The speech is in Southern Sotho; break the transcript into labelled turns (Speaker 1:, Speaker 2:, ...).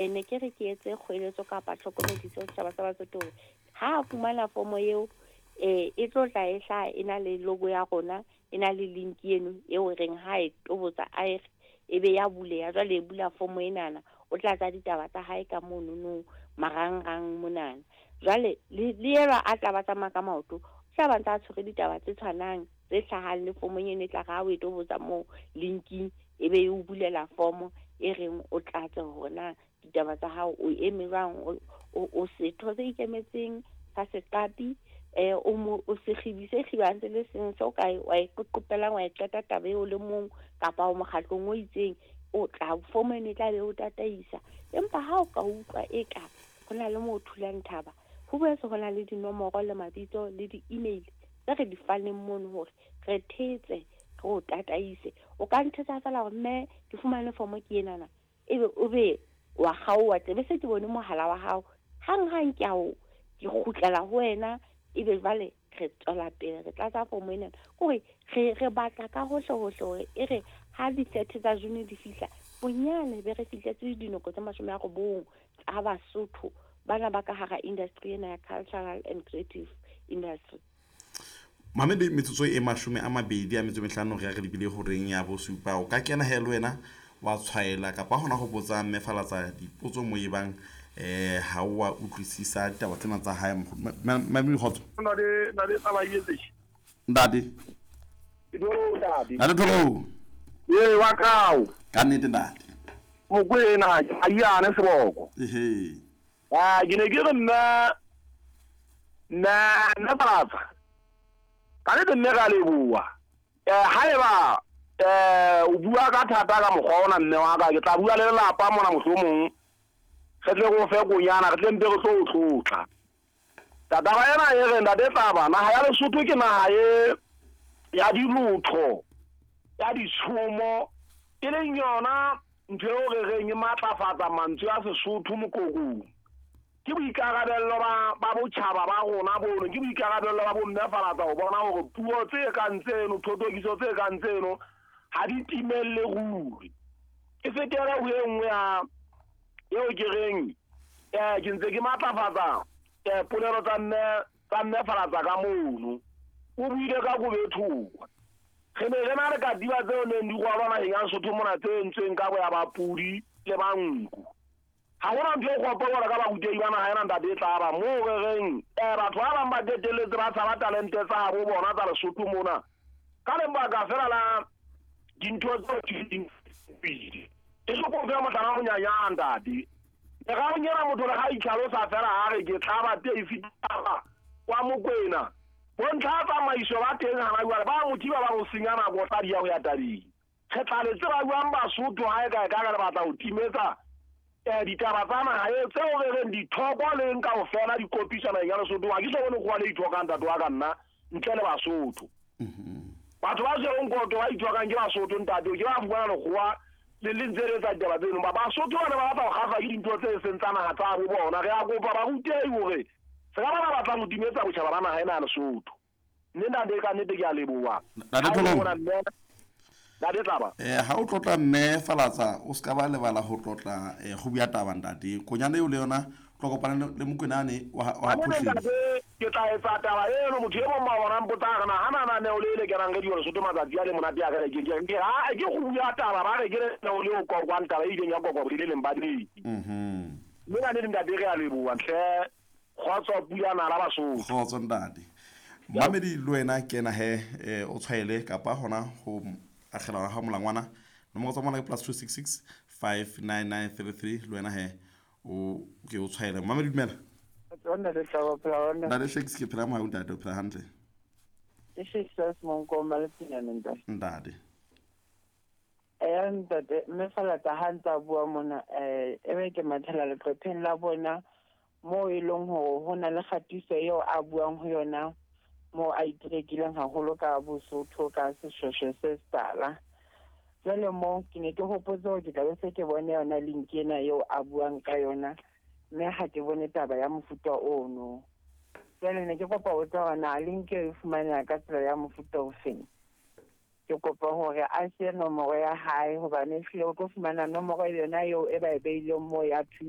Speaker 1: Ne ke re ke etse kgoeletso kapa tlhokomediso ho setjhaba sa Basotho hore ha a fumana fomo eo e tlo tla e hlaha e na le logo ya rona, e na le link eno eo reng ha e tobotsa a e e be ya buleha. Jwale e bula fomo enana, o tlatsa ditaba tsa hae ka monono marangrang monana. Jwale le elwa a tla ba tsamaya ka maoto, o tla ba ntse a tshwere ditaba tse tshwanang tse hlahang le fomong eno e tla re ha o e tobotsa moo linking e be e o bulela fomo e reng o tlatse hore na ditaba tsa hao o eme jwang, o setho se ikemetseng sa seqapi, o mo o sekgibi se kgibang se le seng se o ka wa e qoqopelang wa e qeta taba eo le mong, kapa o mokgatlong o itseng, o tla fomo eno e tla be o tataisa. Empa ha o ka utlwa eka ho na le moo o thulang thaba, ho boetse ho na le dinomoro le mabitso le di-email tse re di faneng mono hore re thetse, re o tataise. O ka nthetsa feela hore mme ke fumane fomo ke enana, ebe o be wa kgaoha tle be se ke bone mohala wa hao. Hang-hang ke a o ke kgutlela ho wena, ebe jwale re tswela pele re tlatsa fomo ena. Kore re batla ka hohle hohle hore e re ha di-30 tsa June di fihla, bonyane be re fihletse dinoko tse 90 tsa Basotho bana ba ka hara industry ena ya cultural and creative industry.
Speaker 2: Mamedi, metsotso e 25 re ya re lebile horeng ya bosupa. O ka kena he le wena wa tshwaela kapa hona ho botsa Mme Falatsa dipotso mo ebang ha o wa utlwisisa ditaba tsena tsa hae. Mamedi, kgotso.
Speaker 3: Ntate taba e etse.
Speaker 2: Ntate.
Speaker 3: Ntate.
Speaker 2: Ntate Tholo.
Speaker 3: Ee, wa kao.
Speaker 2: Ka nnete ntate.
Speaker 3: Mokwena ke Maiane Seboko.
Speaker 2: Ehe.
Speaker 3: Ah, ke ne ke re nna nna Falatsa. Ka nnete mme re a leboha. Haeba o bua ka thata ka mokgwa ona mme wa ka, ke tla bua le lelapa mona mohlomong. Re tle re o fe konyana, re tle mpe re tlo o tlotla. Taba ena e re ntate Tlaba, naha ya Lesotho ke naha e ya dilotho, ya ditshomo, e leng yona ntho eo re reng e matlafatsa mantswe a Sesotho moqoqong. Ke boikarabello ba botjhaba ba rona bono, ke boikarabello ba bomme Falatsa ho bona hore puo tse kang tseno, thothokiso tse kang tseno ha di timelle ruri. Ke fetele ho e nngwe ya eo ke reng ke ntse ke matlafatsa polelo tsa mme Falatsa ka mono. O buile ka kobethokwa. Re ne re na le katiba tseo neng di rwalwa naheng ya Lesotho mona tse entsweng ka boya ba pudi le ba nku. Ha hona ntho e kgopo jwalo ka barutehi ba naha ena ntate Tlaba, moo re reng batho ba bang ba qetelletse ba tshaba talente tsa habo bona tsa Lesotho mona ka lebaka fela la dintho tseo di pele. E se ko fe mohlala o monyanyana ntate. Merarong ena motho le ha itlhalosa fela a re ke tlaba teng fitaba wa Mokwena. Bontlha tsamaiso ba teng hana jwale ba mo thiba ba mo senya nako tla di ya ho ya tabeng. Re tla le tseba jwang Basotho ha e ka e ka re batla ho timetsa ditaba tsa naha e tseo re reng dithoko le eng kaofela di kopiswa naheng ya Lesotho. Ha ke so bone kgowa le ithokang ntate wa ka nna ntle le Basotho. Batho ba tshwereng koto ba ithokang ke Basotho ntate, ke ba fumana lekgowa le le ntse le etsa ditaba tseno. Ba Basotho ba ne ba batla ho kgahlwa ke dintho tse seng tsa naha tsa bo bona. Re a kopa barutehi hore se ka ba ba batlang ho timetsa botjhaba ba naha ena ya Lesotho. Mme ntate ka nnete ke a leboha.
Speaker 2: Ntate Tholong.
Speaker 3: Ntate Tlaba.
Speaker 2: Ha o tlotla mme Falatsa, o ska ba lebala ho tlotla kgubu ya taba ntate. Konyana eo le yona tlo kopana le Mokwena wa Phuhleng.
Speaker 3: Ntate, ke tla etsa taba eno. Motho e mong ma bona mpotsa re na hana na neo le le kenang radio Lesotho matsatsi a le monate a re ke ke ke ha ke kgubu ya taba ba re ke neo le o kokwang taba e ileng ya kokwa le leng ba di. Mme ka nnete ntate re a leboha hle. Kgotso pula nala Basotho.
Speaker 2: Kgotso ntate. Mamedi le wena kena he o tshwaele kapa hona ho akgela ha molangwana. Nomoro tsa mona ke +266 59933 le wena he o ke o tshwaele. Mamedi dumela.
Speaker 4: Ntate Tlaba, phela hona.
Speaker 2: Ntate Shakes ke phela mohau ntate, o phela hantle.
Speaker 4: Ke Shakes a Semonkong ba Letsinyane ntate.
Speaker 2: Ntate.
Speaker 4: Ntate, mme Falatsa ha ntse a bua mona, ebe ke mathela leqepheng la bona moo e leng hore ho na le kgatiso eo a buang ho yona moo a iterekileng haholo ka Bosotho ka seshweshwe se setala. Jwale moo ke ne ke hopotse hore ke tla be se ke bone yona link ena eo a buang ka yona, mme ha ke bone taba ya mofuta ono. Jwale ne ke kopa ho tseba hore na link eo e fumaneha ka tsela ya mofuta ofeng. Ke kopa hore a siye nomoro ya hae, hobane ehlile o tlo fumana nomoro yona eo e ba e beileng moo ya thuto.